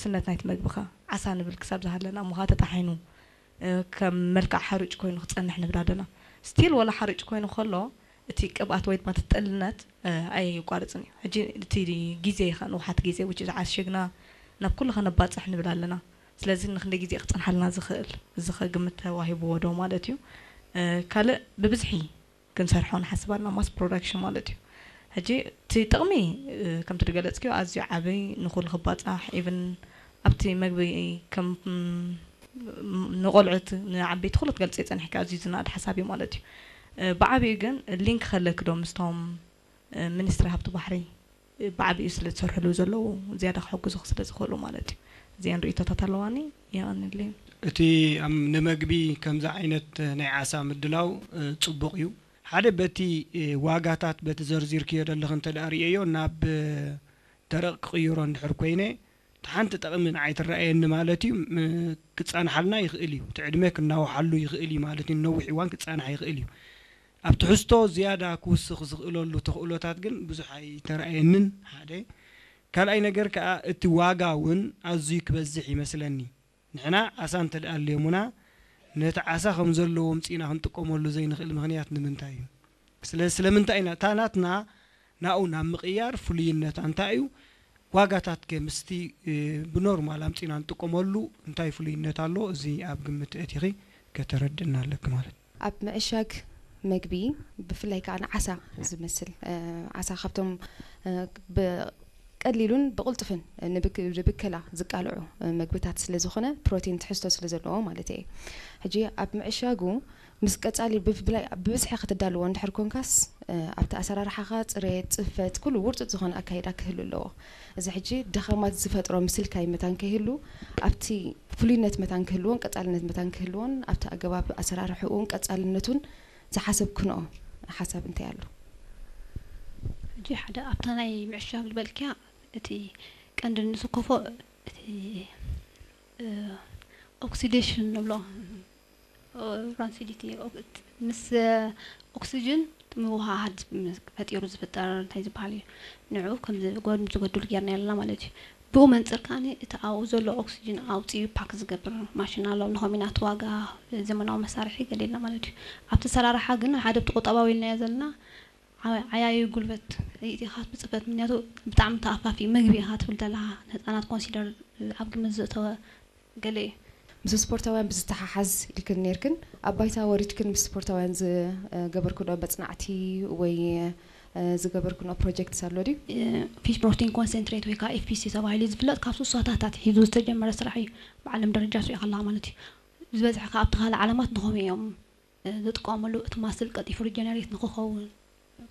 ውሕስነት ናይቲ መግቢ ከ ዓሳ ንብል ክሳብ ዝሃለና እሞ ከኣ ተጣሒኑ፣ እ፣ ከም መልክዕ ሓሩጭ ኮይኑ ክጸንሕ ንብል ኣለና። ስቲል ወላ ሓሩጭ ኮይኑ ከሎ እቲ ቅብኣት ወይ ድማ እቲ ጥልነት፣ እ፣ ኣየቋርጽን እዩ። ሕጂ እቲ ግዜ ከ ንውሓት ግዜ which is ዓሽግና ናብ ኩሉ ከነባጽሕ ንብል ኣለና። ስለዚ ንክንደይ ግዜ ክጸንሓልና ዝኽእል እዚ ከ ግምት ተዋሂብዎ ዶ ማለት እዩ። እ፣ ካልእ ብብዝሒ ክንሰርሖ ንሓስብ ኣለና፣ ማስ ፕሮዳክሽን ማለት እዩ። ሕጂ እቲ ጥቕሚ፣ እ፣ ከምቲ ዝገለጽክዮ ኣዝዩ ዓቢ፣ ንኹሉ ክባጻሕ፣ ኢቭን ኣብቲ መግቢ ከም፣ ም፣ ንቆልዑት ንዓበይቲ ኩሉ ትገልጽ ጸኒሕካ ኣዝዩ ዝናኣድ ሓሳብ እዩ ማለት እዩ። እ፣ ብዓቢኡ ግን ሊንክ ከለኪ ዶ ምስቶም፣ እ፣ ሚኒስትሪ ሃብቲ ባሕሪ፣ እ፣ ብዓቢኡ ስለ ዝሰርሕሉ ዘለዉ ዝያዳ ክሕግዙ ስለ ዝኽእሉ ማለት እዩ። እዚአን ርእይቶታት ኣለዋኒ። የቐንልኝ። እቲ ኣም-፣ ንመግቢ ከምዚ ዓይነት ናይ ዓሳ ምድላው፣ እ፣ ጽቡቕ እዩ። ሓደ በቲ፣ እ፣ ዋጋታት በቲ ዘርዚርክዮ ዘለኽ እንተ ደኣ ርእየዮ ናብ፣ እ፣ ደረቕ ክቕይሮ እንድሕር ኮይነ፣ እቲ ሓንቲ ጠቕሚ ንዓይ ትረኣየኒ ማለት እዩ። ም-፣ ክጻንሓልና ይኽእል እዩ። እቲ ዕድመ ክናውሓሉ ይኽእል እዩ ማለት እዩ። ነዊሕ እዋን ክጻንሕ ይኽእል እዩ። ኣብ ትሕዝቶ ዝያዳ ክውስኽ ዝኽእለሉ ተኽእሎታት ግን ብዙሕ ኣይተረኣየንን ሓደ። ካልኣይ ነገር ከኣ እቲ ዋጋ እውን ኣዝዩ ክበዝሕ ይመስለኒ። ንሕና ዓሳ እንተ ደኣ ኣልዮሙና ነቲ ዓሳ ከም ዘለዎ ኣምጺእና ክንጥቀመሉ ዘይንኽእል ምኽንያት ንምንታይ እዩ? ስለ-፣ ስለምንታይ ኢና እታ ናትና ናኡ ናብ ምቕያር ፍሉይነታ እንታይ እዩ? ዋጋታት ከ ምስቲ፣ እ፣ ብኖርማል ኣምጺእና ንጥቀመሉ እንታይ ፍሉይነት ኣሎ? እዚ ኣብ ግምት ኣእቲኺ ከተረድእና ኣለኪ ማለት። ኣብ ምዕሻግ መግቢ ብፍላይ ከኣ ንዓሳ ዝመስል፣ እ፣ ዓሳ ካብቶም፣ እ፣ ብቀሊሉን ብቕልጡፍን ንብክ-፣ ንብከላ ዝቃልዑ፣ እ፣ መግብታት ስለ ዝኾነ ፕሮቲን ትሕዝቶ ስለ ዘለዎ ማለት እየ። ሕጂ ኣብ ምዕሻጉ ምስ ቀጻሊ ብፍላይ ብብዝሒ ክትዳልዎ እንድሕር ኮንካስ፣ እ፣ ኣብቲ ኣሰራርሓኻ ጽሬት፣ ጽፈት፣ ኩሉ ውርጹጽ ዝኾነ ኣካይዳ ክህሉ ኣለዎ። እዚ ሕጂ ደኻማት ዝፈጥሮ ምስልካይ መታን ከይህሉ፣ ኣብቲ ፍሉይነት መታን ክህልዎን ቀጻልነት መታን ክህልዎን፣ ኣብቲ ኣገባብ ኣሰራርሕኡን ቀጻልነቱን ዝሓሰብክንኦ ሓሳብ እንታይ ኣሎ? ሕጂ ሓደ ኣብታ ናይ ምዕሻግ ዝበልክያ፣ እቲ ቀንዲ ንስከፎ እቲ፣ እ፣ ኦክሲዴሽን ንብሎ፣ እ፣ ራንሲዲቲ፣ ኦክ-፣ ምስ ኦክሲጅን ምውሃሃድ ፈጢሩ ዝፍጠር እንታይ ዝበሃል እዩ? ንዑ ከም ዝጎድ-፣ ዝጎድሉ ጌርና ኣለና ማለት እዩ። ብኡ መንጽር ከኣ እቲ ኣብኡ ዘሎ ኦክሲጅን ኣውጺኡ ፓክ ዝገብር ማሽን ኣሎ። ንኾም ኢና እቲ ዋጋ ዘመናዊ መሳርሒ ገሊልና ማለት እዩ። ኣብቲ ኣሰራርሓ ግን ሓደ ኣብቲ ቁጠባዊ ኢልናዮ ዘለና ዓ-፣ ዓያዩ ጉልበት ኢኻ ብጽፈት፣ ምክንያቱ ብጣዕሚ ተኣፋፊ ምግቢ ኢኻ ትብል ዘለኻ፣ ንህጻናት ኮንሲደር ኣብ ግምት ዘእተወ ገለ እዩ። ምስ ስፖርታውያን ብዝተሓሓዝ ኢልክን ኔርክን፣ ኣብ ባይታ ወሪድክን ምስ ስፖርታውያን ዝገበርክንኦ መጽናዕቲ ወይ፣ እ፣ ዝገበርክንኦ ፕሮጀክትስ ኣሎ ድዩ? እ፣ ፊሽ ፕሮቲን ኮንሰንትሬት ወይ ከዓ ኤፍ ፒ ሲ ተባሂሉ ዝፍለጥ ካብ ስሳታት ኣትሒዙ ዝተጀመረ ስራሕ እዩ። ብዓለም ደረጃ ስሪኦ ከለኻ ማለት እዩ። ዝበዝሐ ከዓ ኣብቲ ካልእ ዓለማት ንኸምኡ እዮም፣ እ፣ ዝጥቀሙሉ፣ እቲ ማስል ቀልጢፉ ሪጀነሬት ንክኸውን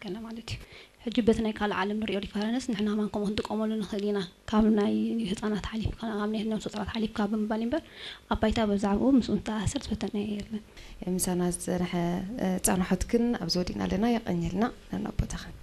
ገለ ማለት እዩ። ሕጂ በቲ ናይ ካልእ ዓለም ንሪኦ ሪፈረንስ ንሕና ማን ከምኡ ክንጥቀመሉ ንኽእል ኢና። ካብ ናይ ህፃናት ሓሊፍካ፣ ካብ ናይ ነብሰ ጡራት ሓሊፍካ ብምባል እምበር ኣብ ባይታ ብዛዕባኡ ምስኡ ዝተኣሳሰር ዝፈተነ የለን። ምሳና ዝፀንሐ፣ እ፣ ፃንሖትክን ኣብዚ ወዲእና ኣለና። የቐንየልና ነናብ ቦታኽን።